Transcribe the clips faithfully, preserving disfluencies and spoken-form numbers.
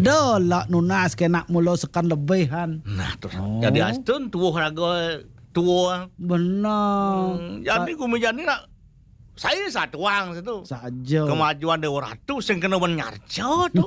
Ada lah nunas kena mula sekan lebihan. Nah, terus Oh. Jadi astun tuwuh raga tuwuh. Benar. Hmm, jadi gumi jani nak saya satuang situ. Saja. Kemajuan Dewa Ratu sing kena men nyarca tu.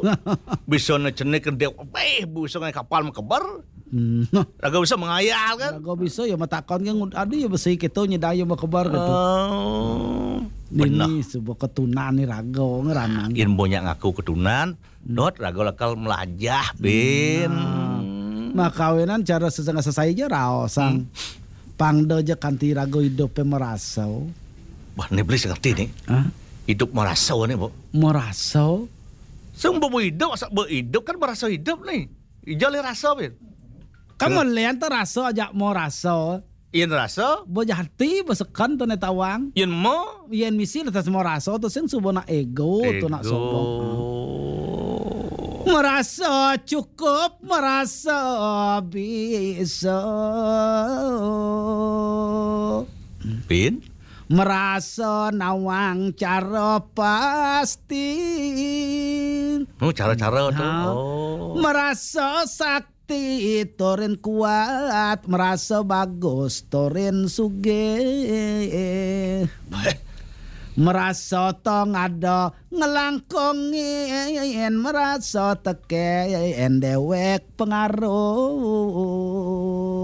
Bisa ne cenik ke dewa, eh, bisa ngai kapal mekeber. Hmm. Raga bisa mengayal kan? Raga bisa ya matakon kan ada ya besi kita nyedaya mekeber gitu. Oh. Ini sebuah ketunan ni raga ngeranang. Yen banyak ngaku ketunan, Dot raga lakal melajah, Bin. Nah, makawinan cara sesengah sesai aja raosang. Hmm. Pangda aja kanti raga hidup merasa. Wah, ni beli ngerti ni. Hah? Hidup merasa ni, Bu. Merasa? Sing bu hidup, asa bu hidup kan merasa hidup ni. Ija le rasa, Bin. Kan melian tu rasa aja mau rasa. Yen rasa. Bejati besekan tu ne tawang. Yen mo. Yen misi letas mau rasa tu sing subo nak ego tu nak sombong. Merasa cukup, merasa bisa. Bin? Merasa nawang cara pasti. Oh, cara-cara tu. Ha. Oh. Merasa sak Ti turin kuat, merasa bagus turin sugih. Merasa tong ada ngelangkongin, merasa teken dewek pengaruh.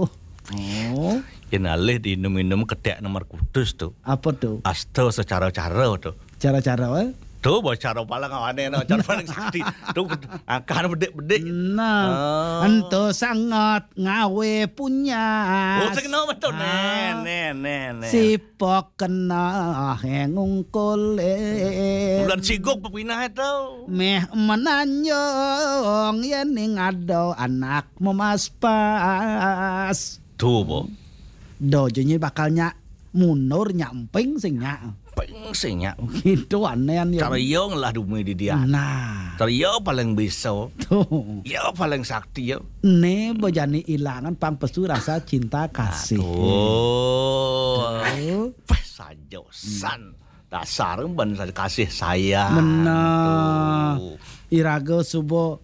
Oh. Yen alih diinum-inum ketek nomor kutus tu. Apa tu? Asta secara-cara tu. Cara-cara, eh? Tu bos cara paling aneh no, cara paling sakti. Tu angkahan bedik-bedik. Nah, ento sangat ngawe punya. Oh, sing no betul. Nen, nen, nen, nen. Sipok kena hengungkole. Bulan sigok pepinah itu. Meh menanjung yen ning ada anak memaspas. Tu, bo. Do jenyi bakal nyak mundur nyak emping sing nyak. Emping sing nyak. Gitu aneh ya. Cara yo ngelah dumi di dia. Nah. Cara yo paling bisa. Tuh. Yo paling sakti yo. Ne bejani ilangan pang pesu rasa cinta kasih. Tuh. Pas saja san. Dasar ban kasih sayang. Benar. Iraga subo.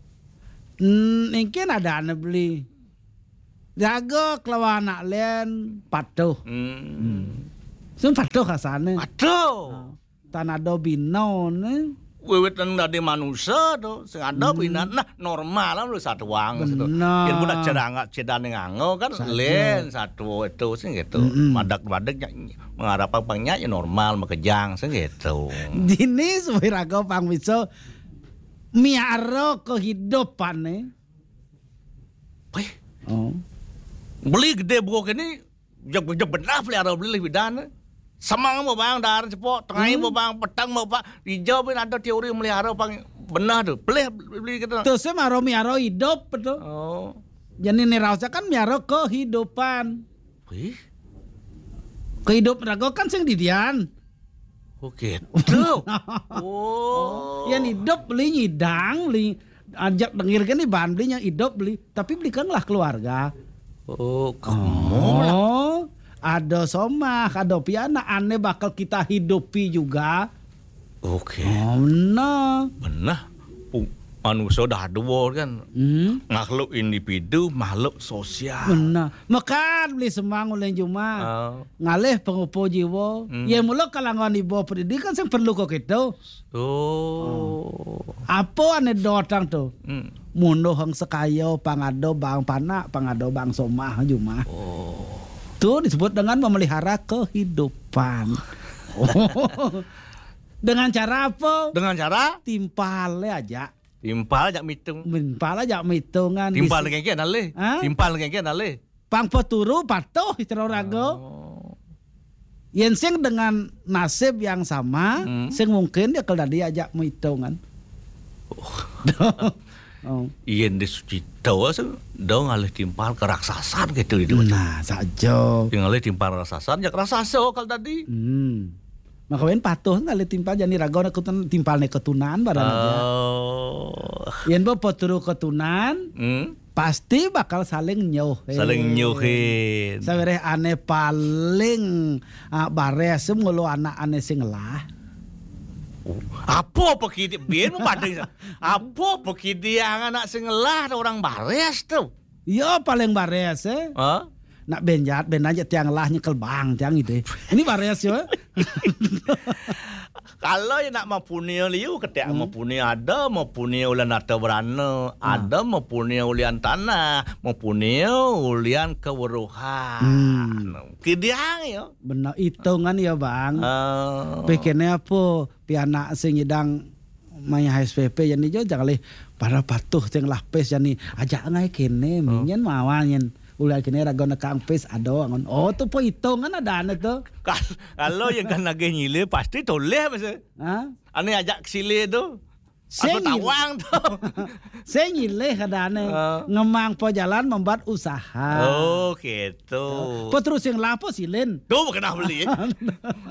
Hmm, mungkin ada ane beli. Jaga kelawan anak len patuh. Hmm. Sun patuh kasane. Patuh. Ha. Tan ada bina ne. Wiwit nang dadi manusia tu, sing ada bina. Nah, normal lah lu satuang situ. Benar. Yen pun nak cerang cedan nganggo kan len satu itu sing gitu. Madak-madak mengharapkan pangnya ya normal makejang sing gitu. Dini supaya raga pang bisa miara kehidupan ne. Wih. Oh. Beli gede buah kini, jeb jeb benar pelihara beli bidan. Semang mau bang dar cepok, tengai mau bang petang mau pak, hijau pun ada teori melihara pang benar tu. Pelih beli kita. Terus saya maro miaro hidup betul. Oh. Jadi ni rasa kan miaro kehidupan. Wih. Kehidupan raga kan sing didian. Oke. Tuh. Oh. Yang hidup beli nyidang, beli ajak dengir kan iban beli yang hidup beli, tapi beli kan lah keluarga. Oh, kamu lah. Oh, ada somah, ada piana, ane bakal kita hidupi juga. Oke. Oh, benar. Benar. Pung- Manusia dah dua kan. Hmm. Makhluk individu, makhluk sosial. Benar. Mekan beli semang uleng juma. Oh. Ngalih pengupo jiwa. Hmm. Ya mula kalangan ibu pendidikan sing perlu kok kita. Oh. Apa ane dotang tu? Hmm. Mundo hang sekayo pangado bang panak, pangado bang somah juma. Oh. Tu disebut dengan memelihara kehidupan. Dengan cara apa? Dengan cara? Timpal aja. Timpal aja mitung. Timpal aja mitungan. Timpal kengken alih. Hah? Timpal kengken alih. Pang peturu patuh istri raga. Oh. Yen sing dengan nasib yang sama, hmm, sing mungkin dia kalau dia ajak mitungan. Oh. Oh. Yen di Sucito dong alih timpal ke raksasa gitu itu. Nah, saja. Yang alih timpal raksasa, jak raksasa kalau tadi. Hmm. Maka wen patuh ngalih timpal jani raga nak ketun-, timpal ne ketunan barang aja. Oh. Yen bo peturu ketunan, hmm, pasti bakal saling nyuhin. Saling nyuhin. Sawereh ane paling, ah, bares ngulu anak ane sing lah. Apa pekidiang? Bin membanding. Apa pekidiang anak sing ngelah tu orang baris tu? Ya, paling baris, eh. Ha? Nak benjat, ben aja tiang ngelah nyekel bang, tiang itu. Ini baris ya. Kalau ya nak mempunyai liu, ketek Hmm. mempunyai ada, mempunyai ulian harta berana, Ah. ada, mempunyai ulian tanah, mempunyai ulian keweruhan. Hmm. Kidiang ya. Benar, hitungan ya, Bang. Ah. Pikirnya apa? Pianak sing idang maya H S P P jani jo, jangan leh pada patuh sing lapis jani. Ajak ngai kene, Oh. minyen mawan nyen. Ulah kene raga nekang pis ada ngon. Oh, tu po hitungan ada ane tu. Kal-, kalau yang kan lagi nyile, pasti toleh masa. Ha? Ane ajak sile tu. Sing Apa nyil- tawang tu? Sing nyilih kadane. Ah. Ngemang po jalan membuat usaha. Oh, gitu. Po terus yang lapo silin. Tu kena beli.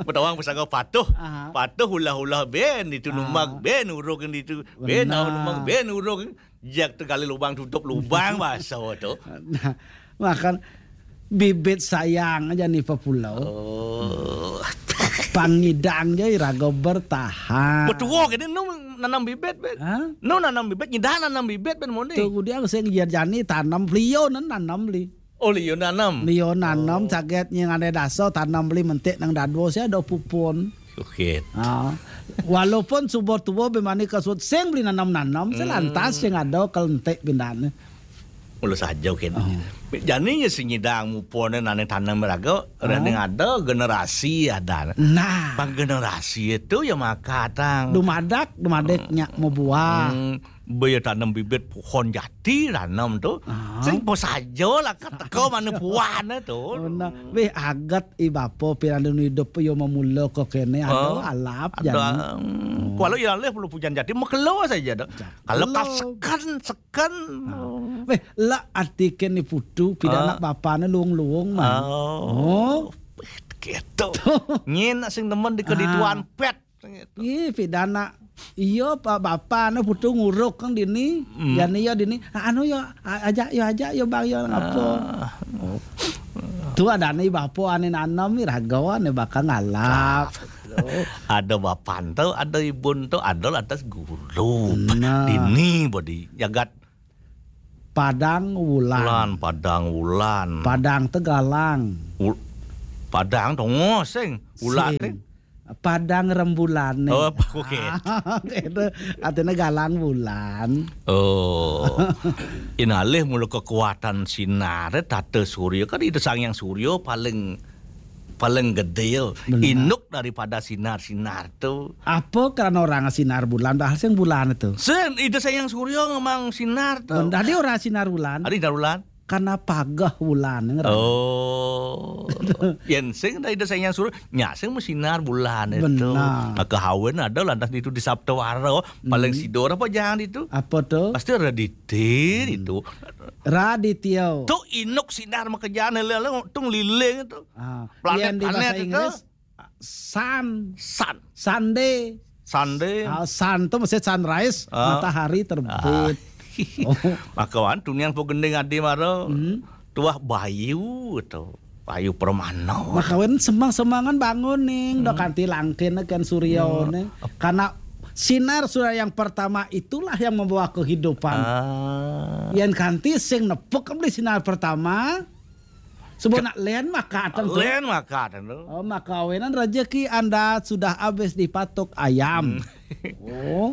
Betawang pesaga patuh. Aha. Patuh ulah-ulah ben itu Ah. numag, ben uruk itu. Ben Benar. numag, ben uruk. Jak tegali lubang tutup lubang bahasa tu. Nah, makan bibit sayang aja nih pepulau. Oh. Pangidang je iraga bertahan. Betua kene nu nanam bibit, bet. Ha? Nu nanam bibit, nyidah nanam bibit, ben moni. Tu dia sing iya jani tanam liu nan nanam li. Oh, liu nanam. Liu nanam Oh. saget nying ane daso tanam li mentik nang dadua sia ada pupun. Oke. Ha. Walaupun subur tua bemani kasut sing beli nanam-nanam, Hmm. selantas sing ada kelentik bindane. Mula saja, Ken. Oh. Jani nya sing nyidang mupone nane tanam raga, Oh. rene ada generasi ada. Nah. Bang generasi itu ya maka tang. Dumadak, dumadak Hmm. nyak mau buah. Hmm, baya tanam bibit pohon jati tanam tu. Ah. Sing po saja lah kat teko mana buahne tu. Oh, nah. Weh, agat i bapa pirandu hidup yo memula ko kene ada Ah. alap Ada, jani. Hmm. Oh. Kalau ya leh perlu pujan jati mekelo saja dah. Kalau Mekelo. kasekan kan. Ah. Weh, la artiken ni putu, pida Ah. anak bapane luung-luung, man. Oh. Oh. Gitu. Nyen sing nemen di kedituan Ah. pet. Gitu. Ih, pida anak. Iya, Pak, bapane putu nguruk kan dini. Hmm. Jani ya dini. Ah, anu ya, a-, ajak ya, ajak ya, Bang, ya, ngapa? Ah. Tu ada ni bapa ane nanam ni raga ane bakal ngalap. Ada bapan tu, ada ibun tu, ada lantas guru. Nah. Dini bodi jagat Padang Wulan. Wulan, Padang Wulan. Padang Tegalang. Wul-, Padang tu ngoseng. Wulan Sing. ni. Padang Rembulan ni. Oh, oke. Itu artinya galang bulan. Oh. Inalih mula kekuatan sinar, tata surya. Kan Ida Sang Hyang Surya paling, paling gede ya. Benar. Induk daripada sinar-sinar tu. Apa karena orang sinar bulan, dah sing bulan itu? Sen, Ida Sang Hyang Surya ngemang sinar tu. Benda dia orang sinar bulan. Ada sinar bulan? Karena pagah bulan ngerang. Oh. Yen sing dah Ida Sang Hyang Surya, nya sing mesinar bulan itu. Benar. Maka hawen ada lantas itu di Saptawara, paling Hmm. sidor apa jangan itu? Apa tu? Pasti ada di dir Hmm. itu. Raditya. Tu induk sinar makejane lele tung liling tu. Ah, Planet-planet yang di bahasa itu. Inggris, sun. Sun. Sunday. Sunday. Ah, sun tu mesti sunrise, Ah. matahari terbit. Ah. Oh. Maka wan tunian po gending adi mara. Hmm. Tuah Bayu tu. Bayu Permana. Maka wan semang-semangan bangun ning, Hmm. dok kanti langkin kan surya Hmm. ning. Karena sinar surya yang pertama itulah yang membawa kehidupan. Ah. Yang kanti sing nepuk beli sinar pertama. Sebab nak len maka atang tu. Len maka atang tu. Oh, maka awenan rezeki Anda sudah habis dipatok ayam. Hmm. Oh.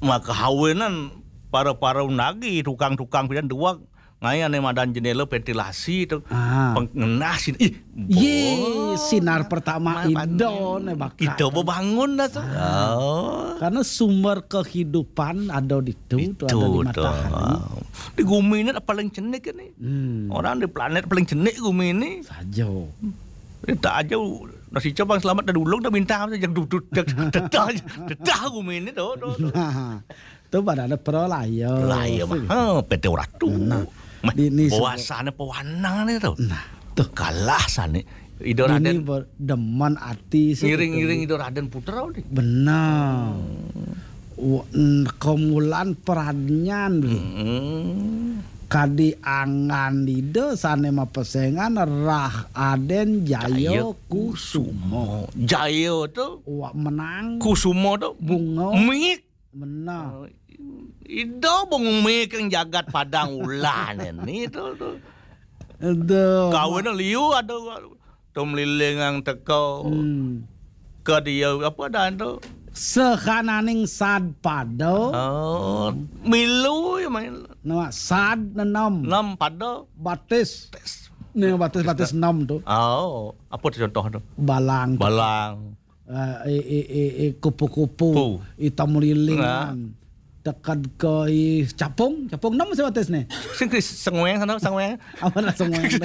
Maka hawenan para-para unagi tukang-tukang pidan dua ngai ane madan jendela ventilasi tu. Ah. Pengenah sini. Ih, Ye, boh. Sinar pertama Indo ne bakat. Kita bebangun dah tu. Ah. Oh. Karena sumber kehidupan ada di tu, tu ada di matahari. Di gumi ni paling cenik ni. Hmm. Orang di planet paling cenik gumi ni. Saja. Kita aja nasi cabang selamat dari ulung dah bintang saja dudut tetah tetah gumi ni tu tu. Nah, tu pada ada pro lah ya. Lah ya mah. Ha, P T Ratu. Nah, di ni bawasane pewanang ni tu. Nah, tu kalah sane. Ido Raden berdeman ati ngiring-ngiring Ido Raden Putra ni. Benar. Kemulan peradnyan. Hmm. Kadi angan Ida sané mapesengan Rah Aden Jaya Jaya Kusuma. Kusuma. Jaya tu Wak menang. Kusuma tu Bunga. Mik. Menang. Oh, Ida bung mik yang jagat Padang Ulan ini tu tu. Aduh. Kawin liu ada tu melilingang teka. Hmm. Ke dia apa dah tu? Sehananing sad pada. Oh, milu ya main. Nama sad enam. Enam pada. Batis. Tes. Ni batis-batis enam tu. Oh, apa tu contoh tu? Balang. Balang. Eh, eh, eh, eh, eh, kupu-kupu. Pu. Hitam lilingan. Nah. Tekad ke i capung, capung enam masih batis ni. Sing sengweng sana sengweng. Apa nak sengweng tu?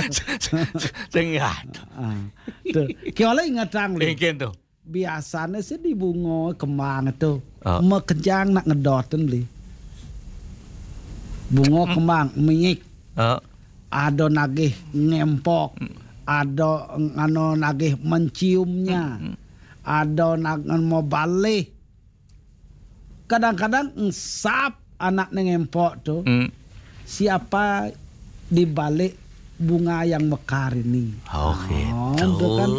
Sing ya. Ah, tu. Kau lah ingat terang ni. Ingin tu. Biasanya sih di bunga kembang tu. Ah. Mekejang nak ngedotin beli. Bunga kembang, mik. Ah. Ada nagih ngempok. Hmm. Ada ngano nagih menciumnya. Hmm. Ada nag mau balih. Kadang-kadang engsap anak neng empok tu. Hmm. Siapa di balik bunga yang mekar ini? Oh, gitu. Tu kan.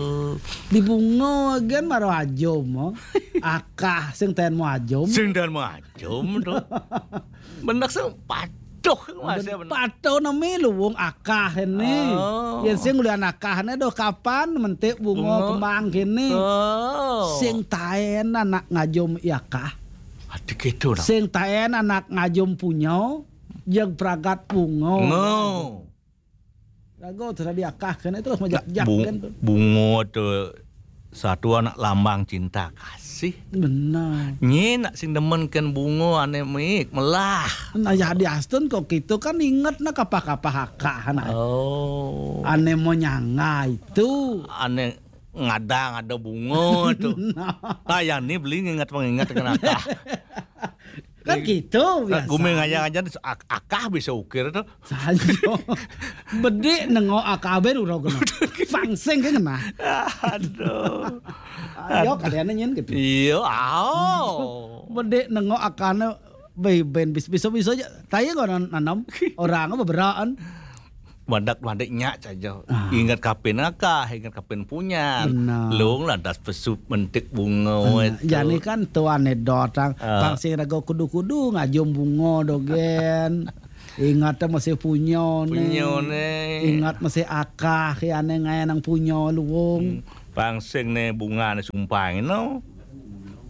Di bunga kan maro ajum, oh. Akah sing ten mau ajum. Sing ten mau ajum tu. Benak sing patuh masih benak. Patuh nami luwung akah ini. Oh. Yang sing ulian akah ini doh kapan mentik bunga. Bunga. Kembang kini. Oh. Sing taen anak ngajum i akah. Ati gitu dah. Sing taen anak ngajum punyo, jeg pragat bungo. Ngo. Rago terus diakah kene terus majak-jak bung-, kan tu. Bungo tu satu anak lambang cinta kasih. Benar. Nye nak sing demen ken bungo ane mik melah. Nah, ya di Aston kok gitu kan inget nak kapah-kapah akah anak. Oh. Ane mau nyangga itu. Ane ngadang ada bungo tu. Nah. Ah, yang ni beli ngingat pengingat dengan akah. Kan gitu biasa. Gumeng aja-aja ak-, akah bisa ukir tu. Sajo. Bedik nengok akah ben urau kena. Pangsing ke kena. Aduh. Ayo kalian nyen gitu. Iya, aw. Bedik nengok akahnya ben, ben bis-, bisa-bisa aja. Tanya kau nan-, nanam orang apa beraan. Madak-madak nyak saja. Ah. Ingat kapen akah, ingat kapen punyan. Benar. Long lantas pesup mentik bunga. Benar. Itu. Jani kan tu anekdot ang. Ah. Pang sing rago kudu-kudu ngajum bunga dogen. Ingat masih punyo ne. Punyo ne. Ingat masih akah ya ne ngai nang punyo luwung. Hmm. Pang sing ne bunga ne sumpang no.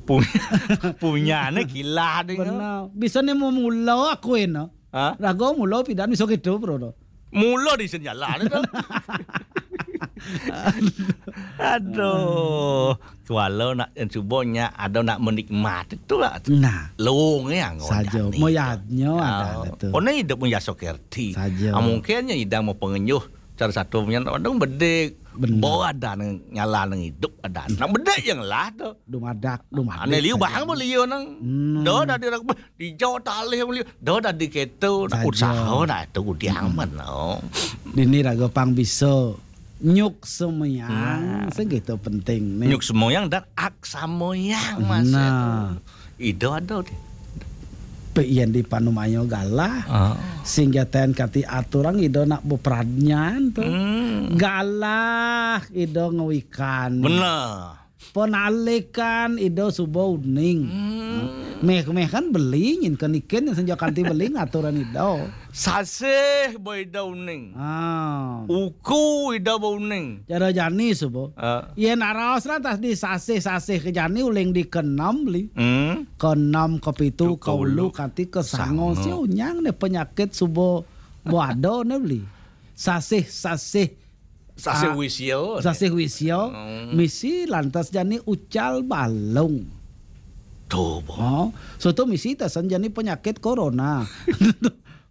Punya, punya ne kilah ne. Benar. Bisa ne mau mula aku eno. Ha? Rago mulo pidan bisa gitu, bro, tu. Mulo di sen jalan tu. Aduh. Kualo nak yang cubo nya ada nak menikmati tu lah. Nah. Long ya. Saja. Moyadnyo ada tu. Oh, ni hidup pun jaso kerti. Saja. Ah, mungkin nya idang mau pengenyuh cara satu punya orang bedik. Benar. Bo ada nang nyala nang hidup ada. Nang bedik yang lah tu. Dumadak, dumadak. Ane liu bahang bo liu nang. Hmm. Do dah di Dijau talih beli. Dah dadi keto, nak saja. Usaha nak tu udiang. Hmm. Mano. Dini raga pang bisa nyuk semoyang, nah. Segitu penting ni. Nyuk semoyang dan ak samoyang masa. Nah. Tu. Ida ada ni. Pe yen di panumayo galah. Ah. Sing jaten kati aturang ida nak bepradnyan tu. Hmm. Galah ida ngewikan. Benar. Penalikan ida suba uning. Hmm. Meh-meh kan beli nyin kenikin yang senja kanti beli ngaturan ida. Sasih ba ida uning. Ah. Uku ida ba uning. Cara jani suba. Ah. Yen aras lah tas di sasih-sasih ke jani uling di keenam beli. Hmm. Keenam, kepitu, tu keulu, keulu, kanti kesango. Sango. Sia unyang ne penyakit suba bo ada ne beli. Sasih-sasih Sasih, ah, wisya. Sasih wisya, hmm. Misi lantas jani ucal balung. Tu, bo. Oh, soto misi tasan jani penyakit corona.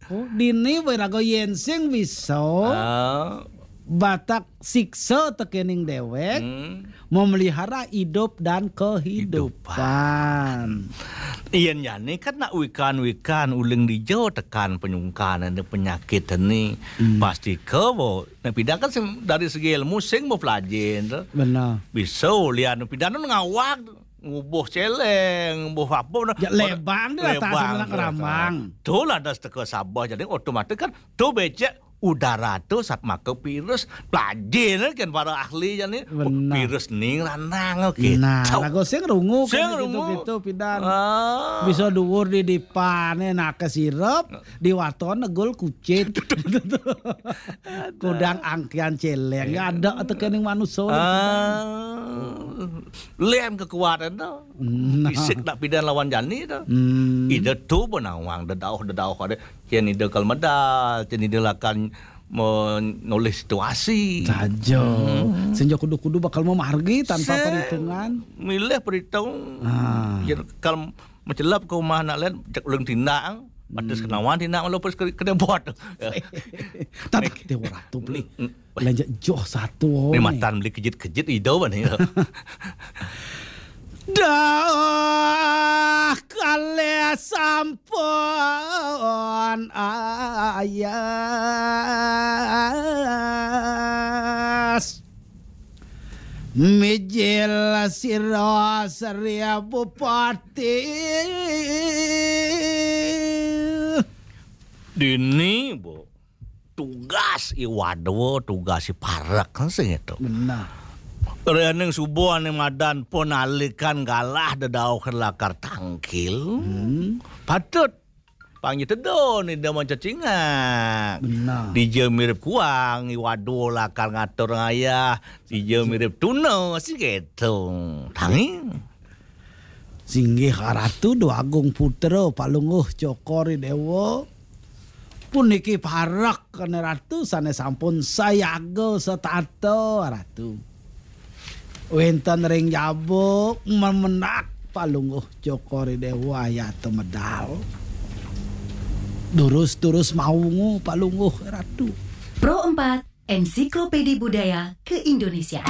Oh, dini wiraga yen sing bisa. Ah. Batak siksa tekening dewek. Hmm. Memelihara hidup dan kehidupan. Hidupan. Yen jani kan nak wikan-wikan uling dija tekan penyungkan ane penyakit ni. Hmm. Pasti ke bo. Nak pidan kan sing, dari segi ilmu sing bepelajar tu. Benar. Bisa ulian pidan tu ngawag tu. ngubuh céléng, ngubuh apa nah. Ya, lebang dia, tak lebang sebenarnya dia, keramang. Tuh lah, das teka Sabah, jadi otomatis kan tuh becek udara tuh sat maka virus. Pelajin kan para ahli jani. Oh, benar. Virus ning lanang, oke. Nah, lagu sing rungu kan sing gitu, rungu gitu, pidan. Ah. Bisa duur di dipané, nah, ke sirep, di waton negul kucit. Kudang angkian céléng. Ya ada tekening manusia. Ah. Lén kekuatan tuh. Nah. Fisik nak pidan lawan jani tuh. Hmm. Ida tuh benawang dedauh-dedauh ada. Cén ida kal medal, cén ida lakan menulis situasi. Saja. Hmm. Senja kudu-kudu bakal memargi tanpa sing perhitungan. Milih perhitung. Ah. Yen kal mencelap ke rumah anak lain, cek ulang tindak, batas kenawan tindak, malah pas ke, kena buat. Tapi kita ratu beli. Hmm. Lanjut joh satu. Ni matan beli kejit-kejit ida bani. Dah kalih sampun ayas. Mijil sira Sri Bupati. Dini, Bu. Tugas I Wadwa, tugas I Parek, kan sing itu. Benar. Réning subuh ané madan penalikan galah dedauh lakar tangkil. Hmm. Patut pangi tedon ida mancacingak. Benar. Dija mirip kuang, I Wadwa lakar ngatur ngayah, dija mirip tuna, sing gitu. Tangi. Singgih Ratu Dwagung Putra Palungguh Cokor I Déwa. Puniki parek kene Ratu sané sampun sayaga setata Ratu. Wénten ring jaba memenak Palungguh Cokor I Déwa ayata medal. Durus-durus maungu Palungguh Ratu. Pro empat, Ensiklopedi Budaya ke Indonesia.